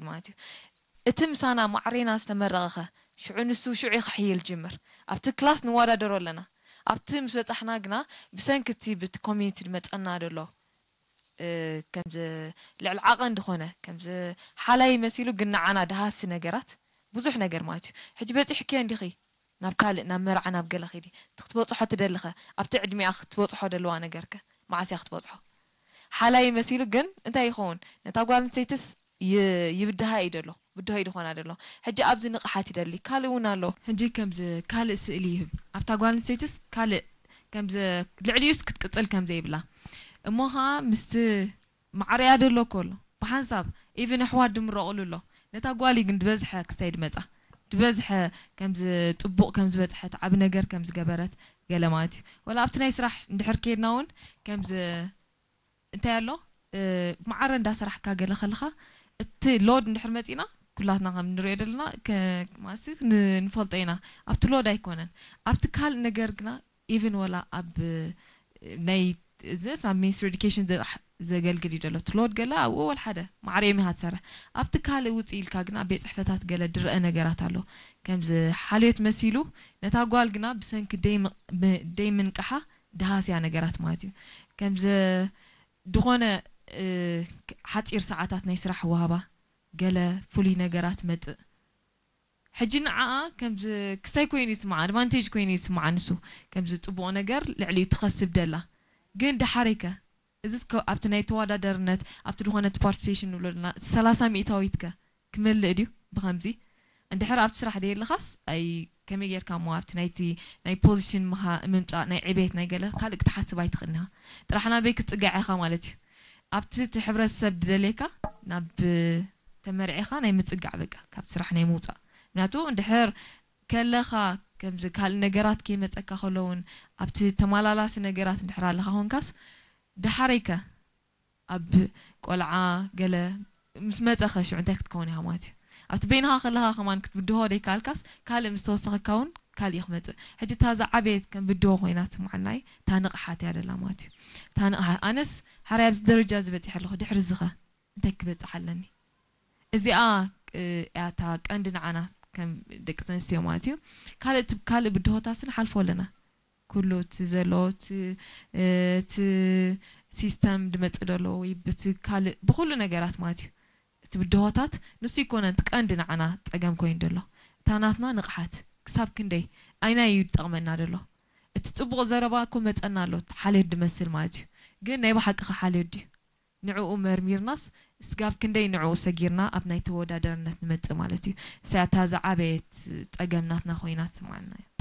ማለት እዩ። እቲ ምሳና ማዕሬና ዝተመረቐኸ ሽዑ ንሱ ሽዑ ክሕይል ጅምር። ኣብቲ ክላስ ንወዳደሮ ኣለና። ኣብቲ ምስ በጻሕና ግና ብሰንኪ እቲ ብቲ ኮሚኒቲ ዝመጸና ዘሎ ከምዚ ልዕሊ ዓቐን ዝኾነ ከምዚ ሓላይ መሲሉ ግን ንዓና ደሃሲ ነገራት ብዙሕ ነገር ማለት እዩ። ሕጂ በጺሕክዮ እንዲኺ ናብ ካልእ ናብ መርዓ ናብ ገለ ኺዲ ክትበጽሖ ትደልኸ ኣብቲ ዕድሚኣ ክትበጽሖ ደለዋ ነገርከ መዓስ እያ ክትበጽሖ ሓላይ መሲሉ ግን እንታይ ይኸውን ነታ ጓል ኣንስተይትስ ይብድሃ እዩ ደሎ ብድሆ እዩ ዝኾና ደሎ ሕጂ ኣብዚ ንቕሓት ይደሊ ካልእ እውን ኣሎ ሕጂ ከምዚ ካልእ ስእሊ ይህብ ኣብታ ጓል ኣንስተይትስ ካልእ ከምዚ ልዕሊኡስ ክትቅጽል ከም ዘይብላ እሞ ኸዓ ምስቲ ማዕረያ ደሎ እኮ ኣሎ ብሓንሳብ ኢቭን ኣሕዋት ድምረቑሉ ኣሎ ነታ ጓል ግን ዝበዝሐ ክስታይ ድመጻ ዝበዝሐ ከምዚ ጽቡቕ ከም ዝበጽሐት ዓቢ ነገር ከም ዝገበረት ገለ ማለት እዩ ወላ ኣብቲ ናይ ስራሕ እንድሕር ከድና እውን ከምዚ እንታይ ኣሎ ማዕረ እንዳሰራሕካ ገለ ከለኻ እቲ ሎድ እንድሕር መፂና ኩላትና ከም ንሪኦ ዘለና ማሲ ንፈልጦ ኢና ኣብቲ ሎድ ኣይኮነን ኣብቲ ካልእ ነገር ግና ኢቭን ወላ ኣብ ናይ እዚ ኣብ ሚኒስትሪ ኤዱኬሽን ጥራሕ ዘገልግል እዩ ዘሎ እቲ ሎድ ገለ ኣብኡ ወል ሓደ ማዕረ እዮም ኢኻ ትሰርሕ ኣብቲ ካልእ ውፅእ ኢልካ ግን ኣብ ቤት ፅሕፈታት ገለ ድረአ ነገራት ኣሎ ከምዚ ሓልዮት መሲሉ ነታ ጓል ግና ብሰንኪ ደይ ምንቅሓ ደሃስያ ነገራት ማለት እዩ ከምዚ ድኾነ ሓፂር ሰዓታት ናይ ስራሕ ዋህባ ገለ ፍሉይ ነገራት መፅእ ሕጂ ንዓኣ ከምዚ ክሳይ ኮይኑ ይስምዓ ኣድቫንቴጅ ኮይኑ ይስምዓ ንሱ ከምዚ ፅቡቕ ነገር ልዕሊኡ ትኸስብ ደላ ግን ድሓረይከ እዚስ ኣብቲ ናይ ተወዳደርነት ኣብቲ ዝኾነ እቲ ፓርቲሲፔሽን ንብሎ ዘለና እቲ ሰላሳ ሚእታዊትከ ክመልእ ድዩ ብኸምዚ እንድሕር ኣብቲ ስራሕ ደየለኻስ ኣይ ከመይ ጌርካ እሞ ኣብቲ ናይቲ ናይ ፖዚሽን ምምፃእ ናይ ዕቤት ናይ ገለ ካልእ ክትሓስብ ኣይትኽእልን ኢኻ ጥራሕ ናበይ ክትፅጋዕ ኢኻ ማለት እዩ ኣብቲ እቲ ሕብረተሰብ ድደልየካ ናብ ተመርዒኻ ናይ ምጽጋዕ በቃ ካብ ስራሕ ናይ ምውጻእ ምክንያቱ እንድሕር ከለኻ ከምዚ ካልእ ነገራት ከይመጸካ ከሎ እውን ኣብቲ ተመላላሲ ነገራት እንድሕር ኣለኻ ኮንካስ ደሓረይከ ኣብ ቆልዓ ገለ ምስ መጸኸ ሽዑ እንታይ ክትከውን ኢኻ ማለት እዩ ኣብቲ በይንኻ ከለኻ ከማን ክትብድሆ ደይከኣልካስ ካልእ ምስ ተወሰኸካ እውን ካልእ እዩ ክመጽእ ሕጂ እታ ዝዓበየት ከም ብድሆ ኮይና ትስምዓና እዩ እታ ንቕሓት እያ ደላ ማለት እዩ እታ ንቕሓት ኣነስ ሓራይ ኣብዚ ደረጃ ዝበፂሕ ኣለኹ ድሕሪ ዝኸ እንታይ ክበፅሕ ኣለኒ እዚኣ እያታ ቀንዲ ንዓና ከም ደቂ ተንስትዮ ማለት እዩ ካልእ ካልእ ብድሆታስ ንሓልፎ ኣለና ኩሉ እቲ ዘሎ እቲ ሲስተም ድመፅእ ዘሎ ወይ ብቲ ካልእ ብኩሉ ነገራት ማለት እዩ እቲ ብድሆታት ንሱ ይኮነ እቲ ቀንዲ ንዓና ፀገም ኮይኑ ዘሎ እታ ናትና ንቕሓት ክሳብ ክንደይ ኣይናይ እዩ ዝጠቕመና ዘሎ እቲ ፅቡቕ ዘረባ እኮ መፀና ኣሎ ሓልዮት ድመስል ማለት እዩ ግን ናይ ብሓቂ ሓልዮት ድዩ ንዕኡ መርሚርናስ ስጋብ ክንደይ ንዕኡ ሰጊርና ኣብ ናይ ተወዳደርነት ንመጽእ ማለት እዩ። እሳያ እታ ዝዓበየት ጸገም ናትና ኮይና ትስምዓና እያ።